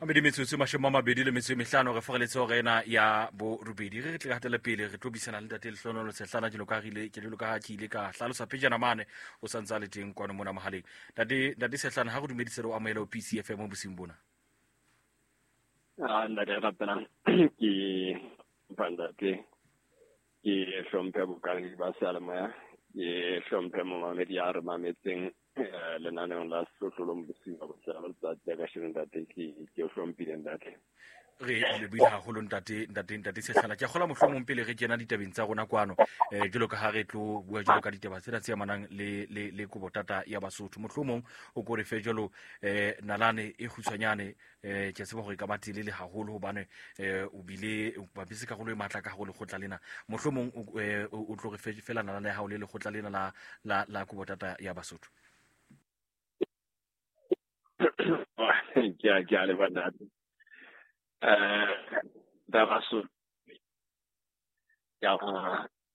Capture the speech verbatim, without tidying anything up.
Mabedi metsotso mashome a mabedi le metso e mehlano re fogeletse hora ena ya borobedi. Re re tle hatele pele re tlo buisana le ntate Lehlohonolo Sehlana jwalo ka ha re ile jwalo ka ha ke ile ka hlalosa pejana mane o santse a le teng kwano mona mohaleng. Ntate ntate Sehlana, ha re dumedise re o amohele ho P C F M bosiung bona. Ah, ntate Rapelang, ke ntate, ke hlomphe bokang ba seyalemoya, ke hlomphe momamedi ya re mametseng lenaneong la Sehlohlolong bosiu ba botsela letsatsi la kasheno ntate, ke ke o hlomphile ntate. Re lebohile haholo ntate, ntate, ntate Sehlana. Ke a kgolwa mohlomong pele re kena ditabeng tsa rona kwano, eh, jwalo ka ha re tlo bua jwalo ka ditaba tsena tse amanang le, le, le kobotata ya Basotho. Mohlomong o ko re fe jwalo, eh, nalane e kgutshwanyane, eh, ke a tseba hore e ka ba telele haholo hobane, eh, o bile o bapise karolo e matla ka hare ho lekgotla lena. Mohlomong o, eh, o tlo re fe fela nalane ya hao le lekgotla lena la, la, la kobotata ya Basotho. Ke a, ke a leboha ntate. Eh, taba so ya